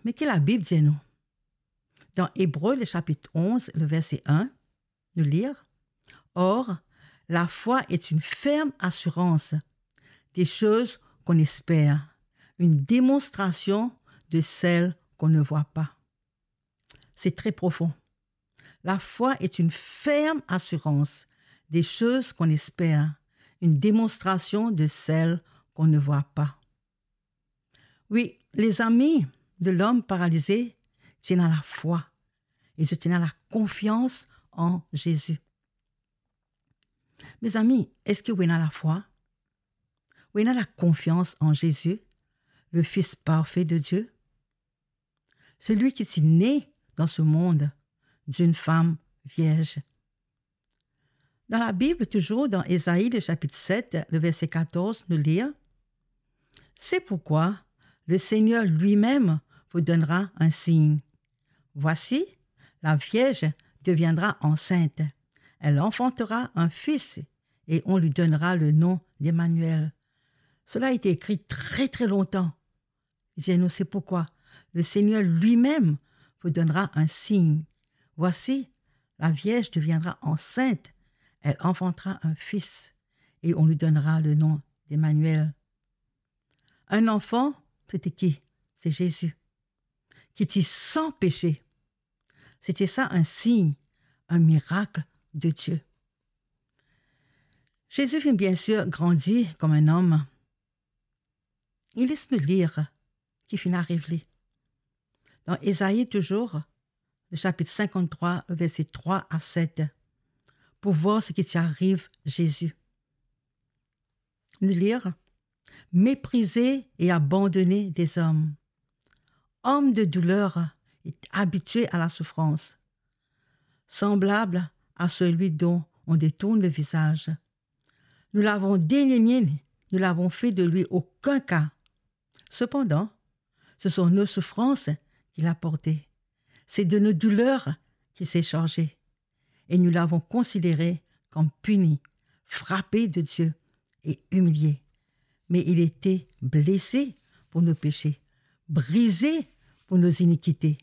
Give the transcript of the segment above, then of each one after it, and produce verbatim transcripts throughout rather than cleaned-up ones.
Me ki Labib dir nou? Dan Ebre, le sapit onz, le verse enn, nou lir, "Or, la foi est une ferme assurance des choses qu'on espère, une démonstration de celles qu'on ne voit pas." C'est très profond. La foi est une ferme assurance des choses qu'on espère, une démonstration de celles qu'on ne voit pas. Wi, lezami de lom paralize ti ena lafwa e zot ti ena lakonfians an Zezi. Mezami, eski ou ena lafwa? Ou ena lakonfians an Zezi, le Fils parfait de Dieu? Celui qui est né dans ce monde d'une femme vierge. Dans la Bible, toujours dans Ésaïe, le chapitre sept, le verset quatorze, nous lire, "C'est pourquoi le Seigneur lui-même vous donnera un signe. Voici, la vierge deviendra enceinte. Elle enfantera un fils et on lui donnera le nom d'Emmanuel." Cela a été écrit très, très longtemps. Il dit, "Non, c'est pourquoi le Seigneur lui-même vous donnera un signe. Voici, la vierge deviendra enceinte, elle enfantera un fils et on lui donnera le nom d'Emmanuel." Un enfant, c'était qui? C'est Jésus, qui était sans péché. C'était ça un signe, un miracle de Dieu. Zezi finn bien sir grandi kouma enn om. E les nou lir ki finn ariv li. Dan Ezayi touzour, le sapit sinkant-trwa, verse trwa a set, pou vwar seki ti ariv Zezi. Nou lir, "Méprisé et abandonné des hommes, homme de douleur et habitué à la souffrance, semblable à celui dont on détourne le visage. Nous l'avons dédaigné, nous l'avons fait de lui aucun cas. Cependant, ce sont nos souffrances qu'il a portées. C'est de nos douleurs qu'il s'est chargé. Et nous l'avons considéré comme puni, frappé de Dieu et humilié. Mais il était blessé pour nos péchés, brisé pour nos iniquités.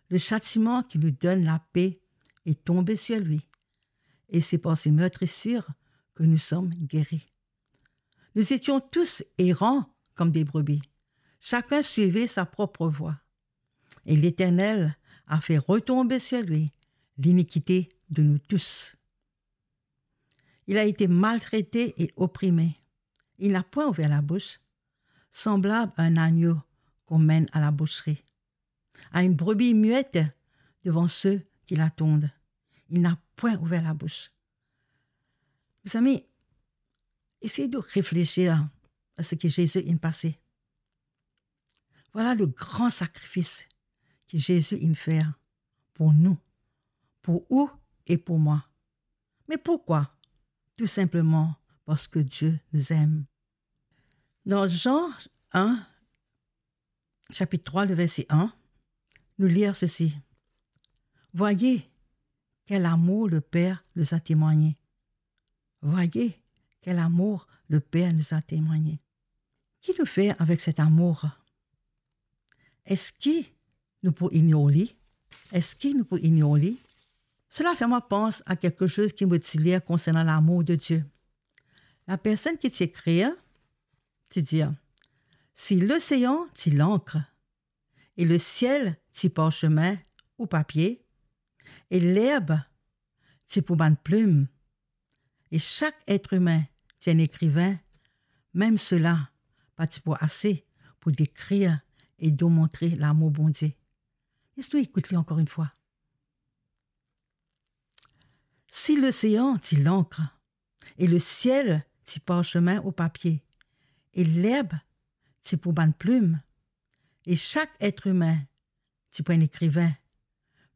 Le châtiment qui nous donne la paix est tombé sur lui. Et c'est par ses meurtrissures que nous sommes guéris. Nous étions tous errants comme des brebis. Chacun suivait sa propre voie. Et l'Éternel a fait retomber sur lui l'iniquité de nous tous. Il a été maltraité et opprimé. Il n'a point ouvert la bouche, semblable à un agneau qu'on mène à la boucherie, à une brebis muette devant ceux qui l'attendent. Il n'a point ouvert la bouche." Mezami, esey de reflesir a seki Zezi inn pase. Vwala le gran sakrifis ki Zezi inn fer pou nou, pou ou e pou mwa. Me poukwa? Tou sinpleman parski Dieu nous aime. Dan Jean un, sapit trwa, le verse enn, nou lir sesi, "Voyez quel amour le Père nous a témoigné. Voyez quel amour le Père nous a témoigné." Ki nou fer avek set amour? Eski nou pou ignor li? Eski nou pou ignor li? Sela fer mwa pans a kelke soz ki mo ti lir konsernan lamour de Dieu. Lapersonn ki ti ekrir ti dir, "Si losean ti lankr, e lesiel ti parsemin ou papie, e lerb ti pou bann plim, e sak etremin ti enn ekrivin, mem sela pa ti pou ase pou dekrir e demontre lamour Bondie." Les nou ekout li ankor enn fwa. "Si losean ti lankr, e lesiel ti parsemin ou papie, e lerb ti pou bann plim, e sak etremin ti pou enn ekrivin,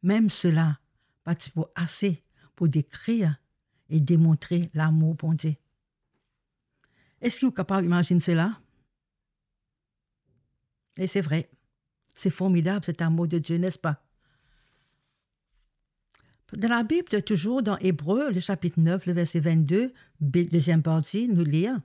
mem sela pa ti pou ase pou dekrir e demontre lamour Bondie." Eski ou kapav imazinn sela? E se vre, se formidab, cet amour de Dieu, n'est-ce pas? Dan Labib, touzour dan Ebre, le sapit nef, le verse vennde, be-, deziem parti, nou lir,